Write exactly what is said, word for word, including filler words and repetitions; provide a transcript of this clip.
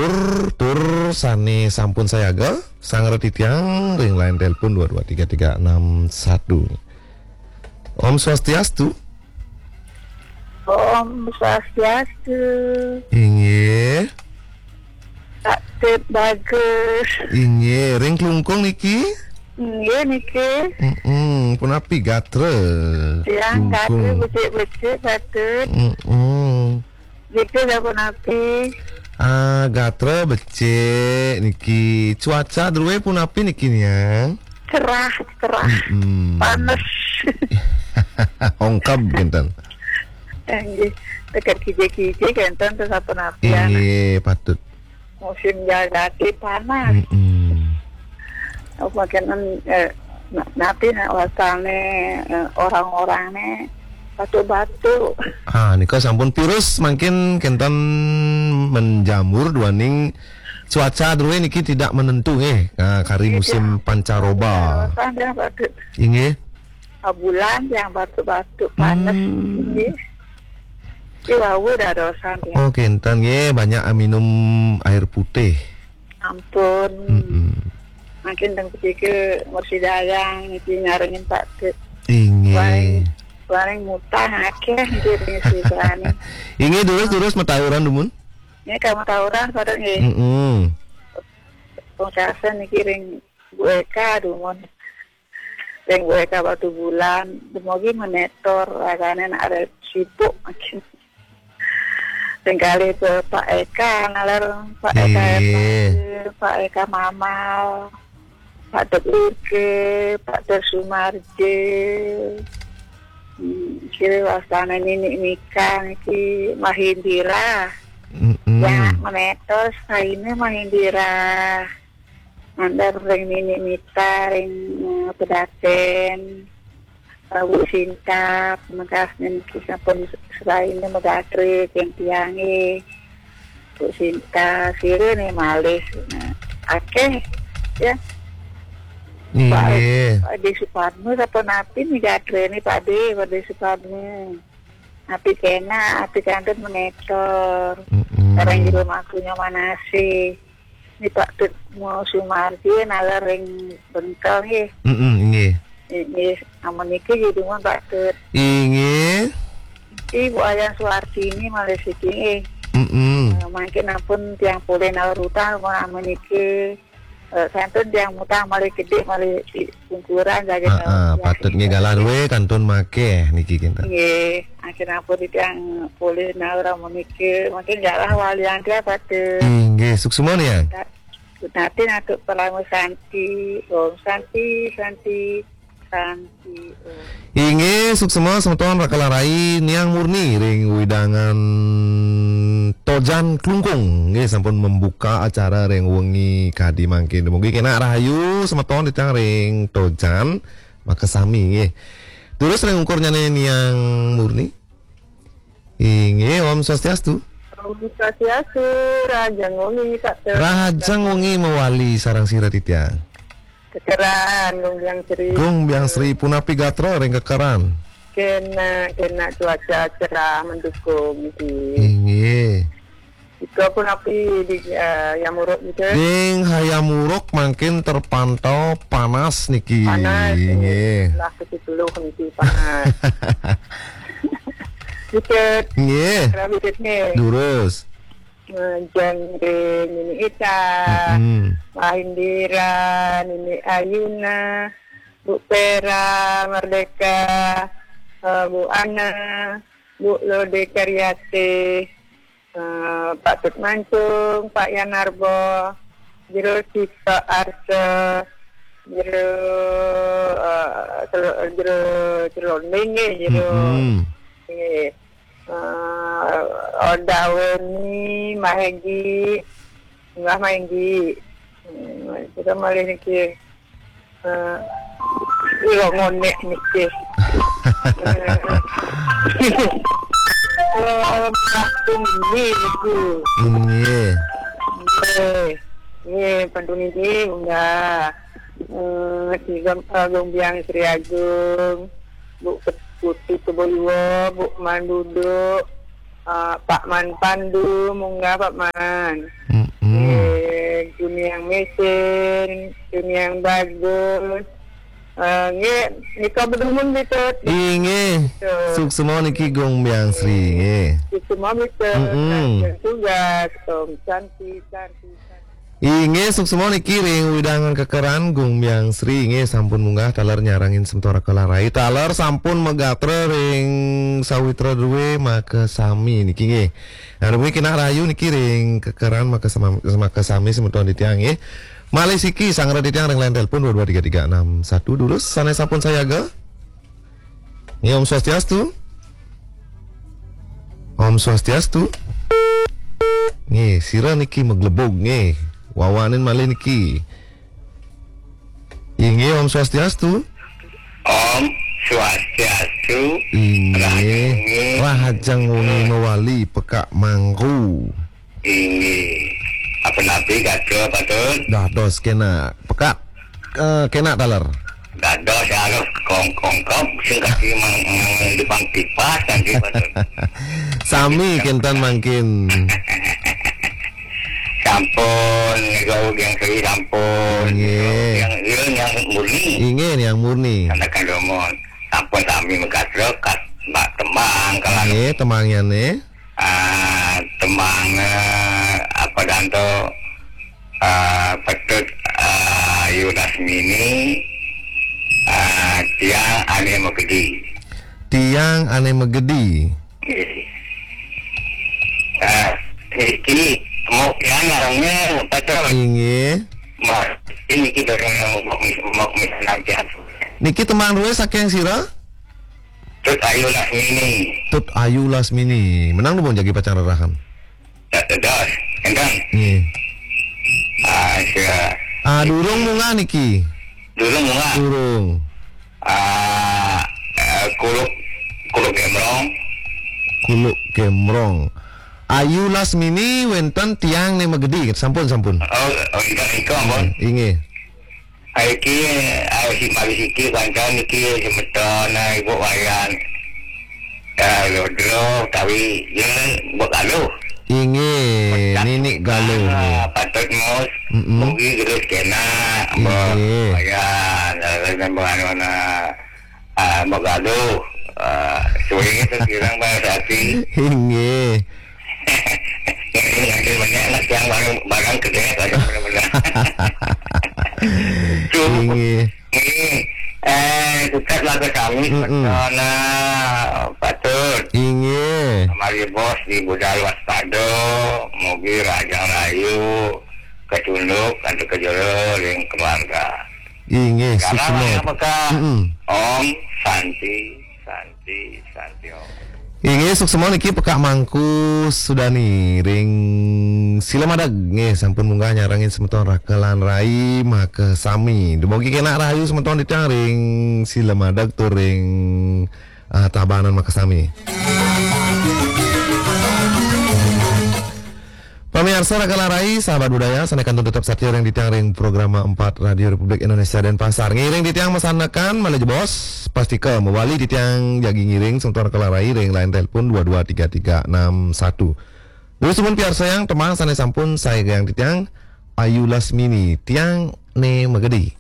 Tur, tur sane sampun sayaga, sanget titiang ring line telepon dua dua tiga tiga enam satu. Om Swastiastu. Om Swastiastu. Inggih. Pak Tut Bagus. Inggih, ring Klungkung niki? Inggih niki. Mm-mm, punapi gatra? Tiang gatra Klungkung. Becik-becik, Pak Tut. Mm-mm. Niki sapunapi? Ah, gatra becik niki. Cuaca druwe punapi niki, Niang? Cerah, cerah. Mm-mm. Panes. Ongkab kinten. Inggih, teket kije-kije kinten tuh sapunapi, anak. Inggih, patut. Musim jagati panas. Mm-mm. Apa kenen, eh, na-, napi nak wasane, eh, orang-orangnya batu-batu. Ah, nika sampun virus mangkin kenten menjamur duaning cuaca druwe niki tidak menentu nggih. Ah, kari Iya. Musim pancaroba. Darosan dia batu. Inggih. Bulan yang batu-batu panas. Hmm. Nggih. Ki wau darosan ya. Oh, kenten nggih, banyak minum air putih. Ampun. Mm-mm. Makin teng kecil mursidayang niki nyarengin Pak Tut. Inggih. Paling, paling mutang akeh nggih ring sisane. Inggih, terus, terus metauran dumun? Ini kamu tawuran pada nggih. Mm-mm. Pungkasan niki ring Bu Eka dumun. Ring Bu Eka Batu Bulan, dumogi menetor, ragane nak arep sibuk makin. Ring kali ke Pak Eka, nalar Pak Eka Iya. Eka, Pak Eka Mamal, Pak Dek Irke, Pak Dek Sumarje. Hmm, kira wasana Nini Mika niki Mahindira. Mm-mm. Ya, menetor, saine Mahindira. Mandar ring Nini Mita, ring, eh, Pedaten, eh, Bu Sinta, pemekas niki sampun selain megatre ring tiange. Bu Sinta, sira ne malih. Nah, akeh, ya. Inggih. Pak, Pak De Supadme, sapa napi ni gatre ni, Pak De, Pak De Supadme. Api kena, api kantun menetor. Mm-mm. Orang jero makunya manase. Ni Pak Tut mau Sumardi, nalar ring bengkel nggih. Mm-mm, nggih. Nggih, amun niki jadi mun Pak Tut. Inggih. Niki Bu Ayan Suwartini malih siki nggih. Mm-mm. Eh, mangkin ampun tiang polih naur utang, mun amun niki, eh, kantun tiang mutang malih gedhe, malih di pungkuran saja. Ah, ah, patut nggih galah duwe kantun makeh niki kinten. Nggih, ampun ampun tiang polih naur amun niki, mungkin galah walian dia patut. Inggih, suksma ya. Nanti nantuk Parama Santi, Om Santi, Santi, Santi, Om. Inggih, suksma semeton Raka Larai, Niang Murni ring wewidangan Tojan Klungkung. Nggih, sampun membuka acara ring wengi kadi mangkin. Mugi kenak rahayu semeton titiang ring Tojan makasami nggih. Terus ring ungkurnyane Niang Murni. Inggih, Om Swastiastu. Om Swastiastu, rahajeng wengi, Pak Tut. Rahajeng wengi mawali sareng sira titiang. Kekeran, Gung Biang Sri. Gung Biang Sri, punapi gatra ring Kekeran? Kena, kena cuaca cerah mendukung niki. Inggih. Ika punapi di, eh, Hayam Wuruk niki? Ring Hayam Wuruk mangkin terpantau panas niki. Panas, nggih. Lah ke sepuluh niki panas. Dikit. Nggih. Kira dikit nggih. Durus. Eh, Jangge, Nini Ita, mm-mm. Mahindira, Nini Ayuna, Bu Pera, Merdeka, eh, Bu Ana, Bu Lode Karyate, eh, Pak Tut Mancung, Pak Yanarbo, Jero Sita Arsa, Jero, eh, Telo-, Jero Celonding nggih, Jero. Mm-mm. Nggih. Eh, Oda Weni, Mahegi, Mbah Mahegi. Hmm, kita malih niki. Eh, ira ngonek niki. Eh, eh, Mbah Tumi niku. Nggih. Nggih. Nggih, pantun niki, Mbah. Eh, Ki Gam-, eh, Gombiang Sri Agung, Bu Put-, Putih Keboliwo, Bu Mandudo, eh, Pak Man Pandu, munggah Pak Man. Mm-mm. Tuniang mesen, tuniang bagus. Eh, nggih, nika bedumun gitu. Inggih. Suksma niki Gung Biang Sri nggih. Suksma gitu. Mm-mm. Tugas, Om Santi, Santi, Santi. Inggih, suksma niki ring wewidangan Kekeran Gung Biang Sri nggih, sampun munggah taler nyarengin semeton Raka Lan Rai. Taler sampun magatra ring sawitra druwe makasami niki nggih. Nah, dumungi kenak rahayu niki ring Kekeran makasama-, makasami semeton titiang nggih. Malih siki sanggra titiang ring line telepon dua dua tiga tiga enam satu, durus sane sampun sayaga. Nggih, Om Swastiastu. Om Swastiastu. Nggih, sira niki maglebug nggih. Wawanin malih niki. Inggih, Om Swastiastu. Om Swastiastu. Inggih. Rahajeng wengi. Rahajeng wengi mawali, pekak mangku. Inggih. Apa napi kata patut? Dados kenak. Pekak, eh, kenak taler. Dados harus kongkongkop sing kasih mang mang depan pipas nanti patut. Sami kenten mangkin. Sampun, niku yang seri sampun. Nggih. Yang yang yang murni. Inggih, yang murni. Karena kan domon. Sampun sami megatrek kat mbak tembang kalau Nggih, tembangyane. Ah, tembang, eh, apa danto, ah, Petut, ah, Ayu Lasmini, ah, Tiang Ane Magedi. Tiang ane magedi. Nggih. Ah, iki mau pian ngarangnya Petut. Inggih. Mas, ini kita orang yang mau mis mau mis nanti. Niki tembang druwe saking sira? Tut Ayu Lasmini. Tut Ayu Lasmini. Menang nuwun jagi pacang rerahan. Dados, enten. Nggih. Ah, sia. Ah, durung munggah niki. Dulu munggah. Durung. Ah, eh, kuluk kuluk gemrong. Kuluk gemrong. Ayu Lasmini wenten Tiang ane magedi. Sampun, sampun. Oh, oh, enten iko ampun. Inggih. Iki, ah, si mari siki kancan iki semeton, ah, Ibu Wayan. Ah, Lodro, tawi, ya, Ibu Galuh. Inggih, Nini Galuh. Ah, patut mus. Mm-mm. Mugi gerus kena, Ibu Inggih. Wayan, ah, dan Ibu Anona. Ah, Ibu Galuh. Ah, suwe itu kirang bahasa hati. Inggih. Ini nanti banyak nak yang barang, barang kedai, ada benar-benar. Cukup. Inggih. Ini, eh, tetap lagu kami, Mm-mm. Petona, patut. Inggih. Mari bos di budal waspada, mugi Rajang Rayu, ketunduk, antuk kejero, ring keluarga. Inggih, Sekarang suksma. Apakah Mm-mm. Om Santi, Santi, Santi Om. Inggih, suksma niki Pekak Mangku Sudani ring Silamadeg nggih, sampun munggah nyarengin semeton Raka lan Rai makasami. Dumugi kenak rahayu semeton titiang ring Silamadeg tur ring, ah, Tabanan makasami. Pamiarsa Raka lan Rai, sahabat budaya, sane kantun tetep satia ring titiang ring programa empat Radio Republik Indonesia Denpasar. Ngiring titiang masanekan malih jebos, pastika mawali titiang jagi ngiring semeton Raka lan Rai ring line telepon dua dua tiga tiga enam satu. Durus nuwun piarsayang tembang sane sampun saegang titiang, Ayu Lasmini, Tiang Ne Magedi.